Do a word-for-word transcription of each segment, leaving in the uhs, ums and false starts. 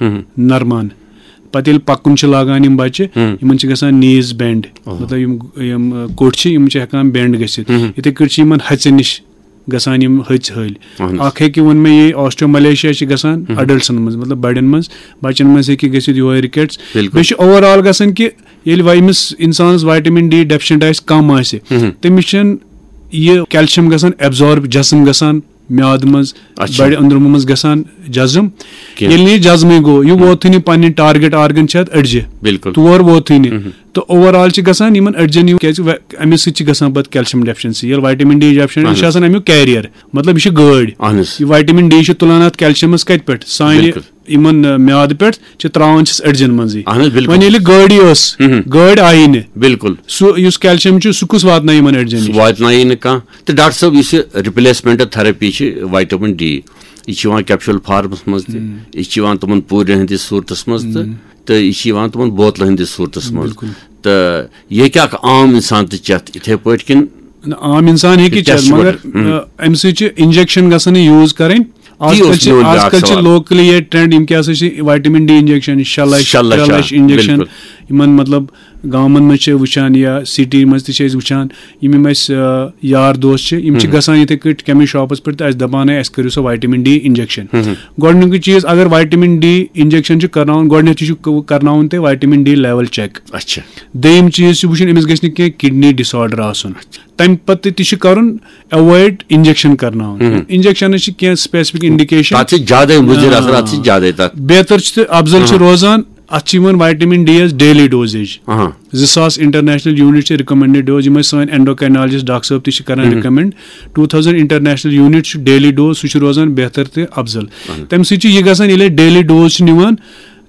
ہم۔ نرمان۔ پتہٕ ییٚلہِ پکُن چھِ لاگان یِم بچہِ، ہم۔ یِمن چھِ گژھان نیٖز بینڈ۔ اوہ۔ مطلب یِم یِم کُٹھۍ چھِ، یِم چھِ ہٮ۪کان بینڈ گٔژھِتھ۔ ہم۔ یِتھے کٲٹھۍ چھِ یِمن ہژِ نِش گژھان یِم ہژِ ہٲلۍ۔ اہن حظ۔ اکھ ہیٚکہِ ووٚن مےٚ یہِ آسٹیوملیشیا چھِ گژھان ہم۔ اڈلٹسن منٛز، مطلب بڑٮ۪ن منٛز، بچن منٛز ہیٚکہِ گٔژھِتھ یِہوے رِکیٹس۔ بِلکُل۔ بیٚیہِ چھُ اوور آل گژھان کہِ ییٚلہِ وۄنۍ أمِس انسانس وائٹامن ڈی ڈیفیشنٹ آسہِ، کم آسہِ، ہم۔ تٔمِس چھُنہٕ یہِ کیلشیم گژھان ایبزارب، جسم گژھان میادٕ منٛز، اچھا۔ بڑِ أنٛدرمہٕ منٛز گژھان جزم۔ کینٛہہ۔ ییٚلہِ نہٕ یہِ جزمٕے گوٚو، یہِ ووتھٕے نہٕ پنٕنۍ ٹارگیٹ آرگن چھِ اتھ أڈجہِ۔ بِلکُل۔ تور ووتھٕے نہٕ۔ مہم۔ تہٕ اوور آل چھِ گژھان یِمن أڈجن یِم، کیازِ وے-، اَمہِ سۭتۍ چھِ گژھان پتہٕ کیلشیم ڈیفیشنسی۔ ییٚلہِ وائٹامن ڈی ڈیفیشنٹ، یہِ چھُ اہن۔ آسان اَمیُک کیریئر، مطلب یہِ چھِ گٲڑۍ۔ اہن حظ۔ یہِ وائٹامن ڈی چھُ تُلان اتھ کیلشیمس کتہِ پٮ۪ٹھ؟ سانہِ بِلکُل۔ یِمن، آ، میادٕ پٮ۪ٹھ چھِ تراوان چھِس أڈجن منٛزٕے۔ اہن حظ، بِلکُل۔ وۄنۍ ییٚلہِ گٲڑی ٲس، مہم۔ گٲڑۍ آیی نہٕ، بِلکُل۔ سُہ یُس کیلشیم چھُ، سُہ کُس واتنایہِ یِمن أڈجن سُہ نِش؟ واتنایہِ نہٕ کانٛہہ۔ تہٕ ڈاکٹر صٲب، یُس یہِ رِپلیسمنٹ تھراپی چھِ وائٹامن ڈی، یہِ چھِ یِوان کیپشول فارمس منٛز تہِ، ہم۔ یہِ چھِ یِوان تِمن پوٗرٮ۪ن ہٕنٛدِس صوٗرتس منٛز تہٕ، ہم۔ تہٕ یہِ چھِ یِوان تِمن بوتلن ہٕنٛدِس صوٗرتس منٛز۔ بِلکُل۔ تہٕ یہِ ہیٚکہِ اکھ عام انسان تہِ چٮ۪تھ یِتھے پٲٹھۍ کِنہٕ؟ نہ، عام انسان ہیٚکہِ کیٛاہ چٮ۪تھ، چھِ مگر وَنان؟ ہم۔ آ، اَمہِ سۭتۍ چھِ انجیکشن گژھان یوٗز کرٕنۍ۔ آز تی کل اوس چھِ، میون آز بیٛاکھ کل چھِ سوال۔ لوکلی ییٚتہِ ٹرینڈ، یِم کیٛاہ سا چھِ وائٹامن ڈی انجیکشن، شےٚ لچھ، شےٚ لچھ، ترٛےٚ آ، لچھ انجیکشن، بِلکُل۔ یِمن مطلب گامن منٛز چھِ وٕچھان یا سٹی منٛز تہِ چھِ أسۍ وٕچھان، یِم یِم اَسہِ، آ، یار دوس چھِ، یِم چھِ ہم۔ گژھان یِتھے کٲٹھۍ کیمِسٹ شاپس پٮ۪ٹھ تہٕ اَسہِ دَپان، "ہے، اَسہِ کٔرِو سا وائٹامن ڈی انجیکشن۔" ہم۔ گۄڈٕنیُکُے چیٖز، اگر وائٹامن ڈی انجیکشن چھُ کرناوُن، گۄڈٕنیتھ چھُ کرناوُن تۄہہِ وائٹامن ڈی لیول چیک۔ اچھا۔ دوٚیِم چیٖز چھُ وٕچھُن، أمِس گژھِ نہٕ کینٛہہ کڈنی ڈس آرڈر آسُن۔ تَمہِ پتہٕ تہِ چھُ کرُن ایوایڈ انجیکشن کرناوُن۔ ہم۔ انجیکشنس چھِ کینٛہہ اسپیسفک انڈیکیشن۔ تَتھ چھِ زیادَے مُضِر اثر، آ۔ اَتھ چھِ زیادَے تَتھ۔ بہتر چھُ تہٕ افضل چھُ ہم۔ روزان، اَتھ چھِ یِوان vitamin D as daily dosage. اہاں۔ زٕ ساس انٹرنیشنل یونٹ چھِ ریکمنڈڈ ڈوز، یِم اَسہِ سٲنۍ اینڈوکرینالجسٹ ڈاکٹر صٲب تہِ چھِ کران ہم۔ Recommend. Two thousand international unit چھُ ڈیلی ڈوز، سُہ چھُ روزان بہتر تہٕ افضل۔ تَمہِ سۭتۍ چھُ یہِ گژھان، ییٚلہِ أسۍ ڈیلی ڈوز چھِ نِوان،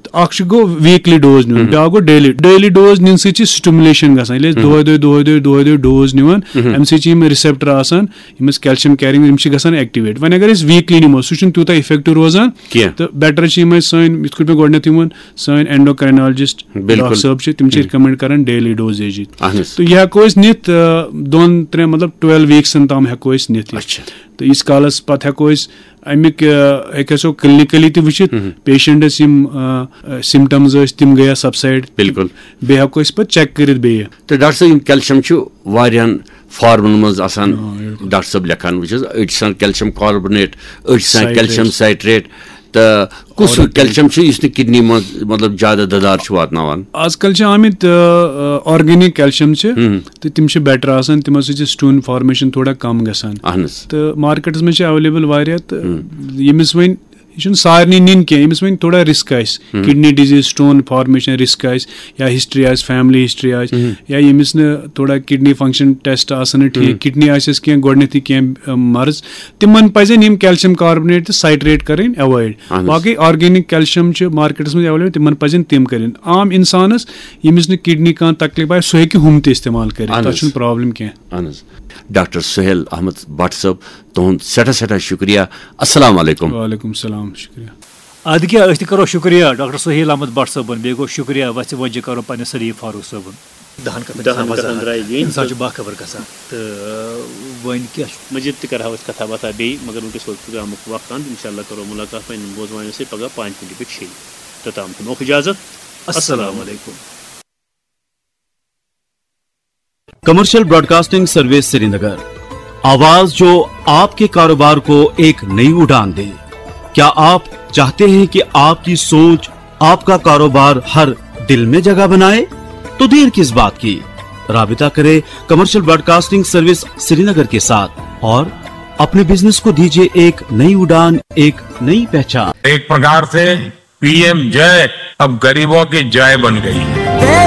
تہٕ اکھ چھُ گوٚو ویٖکلی ڈوز نیُن، بیٛاکھ گوٚو ڈیلی۔ ڈیلی ڈوز نِنہٕ سۭتۍ چھِ سٹیمولیشن گژھان۔ ییٚلہِ أسۍ دۄہے دۄہے، دۄہے دۄہے، دۄہے دۄہے ڈوز نِوان، اَمہِ سۭتۍ چھِ یِم ریسپٹر آسان، یِم أسۍ کیلشیم کیرنگ، یِم چھِ گژھان ایکٹیویٹ۔ وۄنۍ اگر أسۍ ویٖکلی نِمو، سُہ چھُنہٕ تیوٗتاہ افیکٹو روزان کینٛہہ۔ تہٕ بیٹر چھِ یِمے سٲنۍ، یِتھ کٲٹھۍ مےٚ گۄڈٕنیتھ ووٚن، سٲنۍ اینڈوکرینالجسٹ بِلکُل۔ ڈاکٹر صٲب چھِ، تِم چھِ ریکمنڈ کران ڈیلی ڈوزیج۔ اہن حظ۔ تہٕ یہِ ہٮ۪کو أسۍ نِتھ، آ، دۄن ترٛٮ۪ن، مطلب، ٹُویلو ویٖکسن تام ہٮ۪کو أسۍ نِتھ یہِ۔ اچھا۔ تہٕ ییٖتِس کالس پتہٕ ہٮ۪کو أسۍ اَمیُک، آ، ہیٚکہِ سو کلینکلی تہِ وٕچھِتھ، پیشنٹس یِم، آ، آ، سمٹمز ٲسۍ، تِم گٔیا سبسایڈ۔ بِلکُل۔ بیٚیہِ ہٮ۪کو أسۍ پتہٕ چیک کٔرِتھ بیٚیہِ۔ تہٕ ڈاکٹر صٲب، یِم کیلشیم چھُ واریاہن فارمن منٛز آسان، آ، بِلکُل۔ ڈاکٹر صٲب لیکھان، وٕچھ حظ، أڑۍ چھِ آسان کیلشیم کاربونیٹ، أڑۍ چھِ آسان سائٹریٹ۔ کیلشیم سائٹریٹ۔ تہٕ کُس ہیوٗ آرڈر کیلشیم چھُ یُس نہٕ کڈنی منٛز، مطلب، زیادٕ دَدار چھُ واتناوان؟ آز کل چھِ آمٕتۍ، آ، آ، آرگینک کیلشیم چھِ، تہٕ تِم چھِ بیٹر آسان، تِمو سۭتۍ چھِ سٹون فارمیشن تھوڑا کم گژھان۔ اہن حظ۔ تہٕ مارکیٹس منٛز چھِ اویلیبل واریاہ، تہٕ ییٚمِس وۄنۍ، یہِ چھُنہٕ سارنٕے نِنۍ کینٛہہ، ییٚمِس وۄنۍ تھوڑا رسک آسہِ، kidney disease, stone formation risk آسہِ، یا ہسٹری آسہِ، فیملی ہسٹری آسہِ، یا ییٚمِس نہٕ تھوڑا کڈنی فنکشن ٹیسٹ آسان نہٕ ٹھیٖک، کڈنی آسٮ۪س کینٛہہ گۄڈٕنیتھٕے کینٛہہ، آ، مرض، تِمن پزن یِم کیلشیم کاربونیٹ تہٕ سائٹریٹ کرٕنۍ ایوایڈ۔ اہن حظ۔ باقٕے آرگینک کیلشیم چھِ مارکیٹس منٛز اویلیبل، تِمن پزن تِم کرٕنۍ۔ عام انسانس، ییٚمِس نہٕ کڈنی کانٛہہ تکلیف آسہِ، سُہ ہیٚکہِ ہُم تہِ استعمال کٔرِتھ، اہن تتھ حظ۔ چھُنہٕ پرابلم کینٛہہ۔ اہن حظ۔ ڈاکٹر سہیل احمد بٹ صٲب، تُہُنٛد سٮ۪ٹھاہ سٮ۪ٹھاہ شُکریہ۔ السلام علیکم۔ وعلیکم السلام، شُکریہ۔ ادٕ کیٛاہ، أسۍ تہِ کرو شُکریہ ڈاکٹر سہیل احمد بٹ صٲبُن، بیٚیہِ گوٚو شُکریہ وَژھِ وۄنۍ جہِ کرو پننِس سلیٖم فاروق صٲبُن۔ دَہَن کَتھَن چھِ دَہَن آسان کَتھَن وضاحت۔ درٛایہِ گٔے۔ اِنسان چھُ باخبر گژھان۔ تہٕ وۄنۍ کیٛاہ چھُ؟ مٔزیٖد تہِ کَرٕہاو أسۍ کَتھا باتھا بیٚیہِ، مگر وٕنکیٚس ووت پروگرامُک وقت اَنٛد۔ اِنشاء اللہ کَرو مُلاقات پنٛنٮ۪ن بوزوانَن سۭتۍ پگاہ پانٛژِ مِنٹہِ پٮ۪ٹھ شیٚیہِ۔ توٚتام دِموکھ اِجازت۔ السلام علیکم۔ کمرشل براڈکاسٹنگ سروس سرینگر، آواز جو آپ کے کاروبار کو ایک نئی اڑان دے۔ کیا آپ چاہتے ہیں کہ آپ کی سوچ آپ کا کاروبار ہر دل میں جگہ بنائے؟ تو دیر کس بات کی؟ رابطہ کریں کمرشل براڈکاسٹنگ سروس سرینگر کے ساتھ اور اپنے بزنس کو دیجیے ایک نئی اڑان، ایک نئی پہچان۔ एक प्रकार से पीएम जय अब गरीबों की जय बन गई है।